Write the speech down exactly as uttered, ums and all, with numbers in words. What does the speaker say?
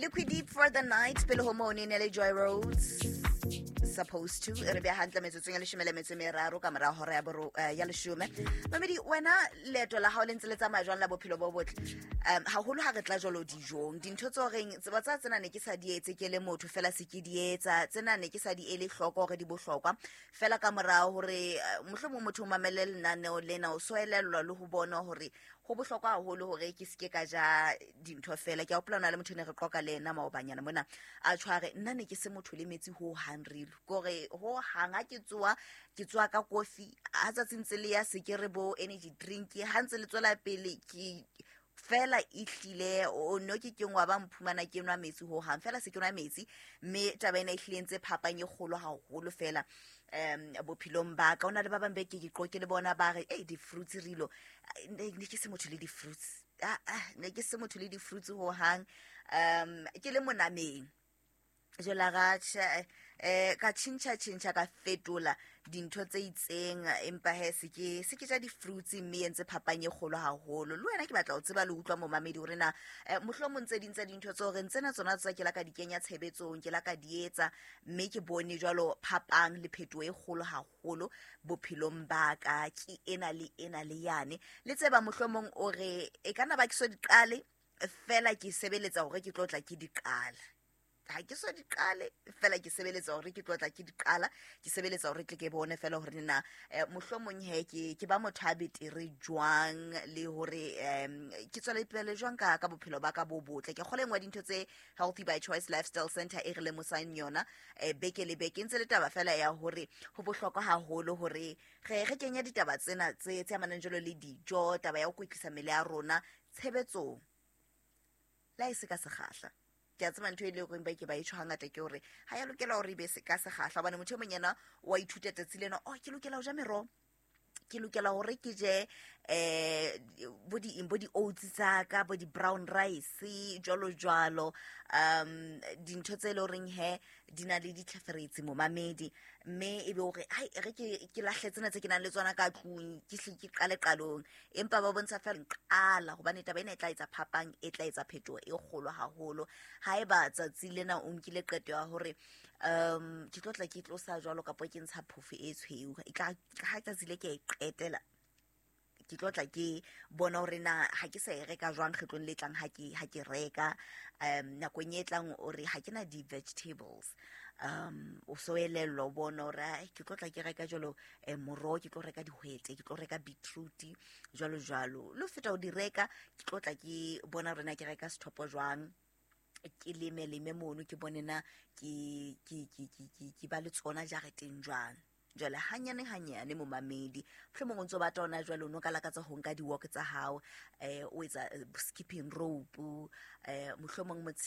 Liquid Deep for the Night, pele ho moo ne ne le Joy Rhodes, Supposed To. E re beha hantle metsotsong ya leshome le metso e meraro ka mora hora ya boro eh, ya leshome. Mamedi, wena leeto la hao le ntse le tsamaya jwang la bophelo bo botle? um haholo ha re tla jwalo dijong, dintho tse horeng tseba tsa tsena ne ke sa di etse ke le motho, fela se ke di etsa. Tsena ne ke sa di ele hloko hore di bohlokwa, fela ka mora hore eh, mohlomong motho o mamele lenaneo lena, o so elellwa le ho bona hore ho bohlokwa haholo hore ke seke ka ja dintho fela. Ke a hopola ho na le motho ne re qoqa le ena maobanyana mona, a tshware nna ne ke se motho le metsi ho hang, relo kore ho hang. Ha ke tsoa, ke tsoa ka kofi. Ha tsatsi ntse le ya, se ke re bo energy drink. Ha ntse le tswela pele, ke fela e hlile o no ke keng wa ba mphumana ke nwa metsi ho hang, fela se ke nwa metsi. Mme taba ena e hlile entse phapang e kgolo haholo fela um bophelong ba ka. O na le ba bang be ke ke qoke le bona, ba re ei, di-fruits rilo, ne ne ke se motho le di-fruits. Ah, ah, ne ke se motho le di-fruits ho hang, um ke le monameng jwale ga tjhe, eh ka tjhentjha tjhentjha, ka fetola dintho tse itseng, empa he se ke se ke ja di-fruits, mme e entse phapang e kgolo haholo. Le wena ke batla ho tseba le utlwa, momamedi, hore na eh, mohlomong tse ding tsa dintho tse horeng tsena tsona tsa ke la ka di kenya tshebetsong, ke la ka di etsa, mme ke bone jwalo phapang le phetoho e kgolo haholo bophelong ba ka, ke ena le ena le yane le tseba. Mohlomong o re e ka nna ba ke so di qale, fela ke sebeletsa hore ke tlo tla ke di qala. Ha ke so di qale, fela ke sebeletsa hore ke tlo tla ke di qala. Ke sebeletsa hore tle ke bone fela hore na eh, mohlomong he ke ke ba motho a betere jwang, le hore um ke tswele pele jwang ka ka bophelo ba ka bo botle. Ke kgole engwe dintho tse Healthy by Choice Lifestyle Center e re lemosang yona eh, beke le beke, e ntse le taba fela ya hore ho bohlokwa haholo hore re re kenye ditaba tsena tse tse amanang jwalo le dijo, taba ya ho kwetlisa mmele ya rona tshebetsong, le ha e se ka sekgahla. Ke a tseba ntho e leng horeng ba ke ba e tjho hangata ke hore ha ya lokela hore e be se ka sekgahla, hobane motho e mong yena wa ithuta tsatsi lena, oh, ke lokela ho ja meroho, ke lokela hore ke je eh bo di bo di oats tsa ka, bo di brown rice, jwalo jwalo, um dintho tse leng horeng he di na le ditlheferetsi, momamedi. Mme e be hore hai, re ke ke lahle tsena tse ke nang le tsona ka tlung, ke hle ke qale qalong. Empa ba bontsha fela qala, hobane taba ena e tla etsa phapang, e tla etsa phetoho e kgolo haholo. Haeba tsatsi lena o nkile qeto ya hore um ke tlo tla ke tlosa jwalo, kapa ke ntsha phofo e tshweu, e tla ha tsatsi le ke e qetela, ke tlo tla ke bona hore na ha ke sa e reka jwang kgetlong le tlang. ha ke ha ke reka um nakong e tlang, o re ha ke na di-vegetables, um o so elellwa, o bona hore ai, ke tlo tla ke reka jwalo um moroho, ke tlo reka dihwete, ke tlo reka beetroot, jwalo jwalo. Le ho feta ho di reka, ke tlo tla ke bona hore na ke reka sethopo jwang, ke leme leme mono, ke bone na ke ke ke ke ke ke ba le tsona jareteng jwang. Jwale hanyane hanyane, momamedi, mohlomong o ntso batla hona jwale, o no ka lakatsa ho nka di-walk tsa hao, eh o etsa eh, skipping rope, eh mohlomong.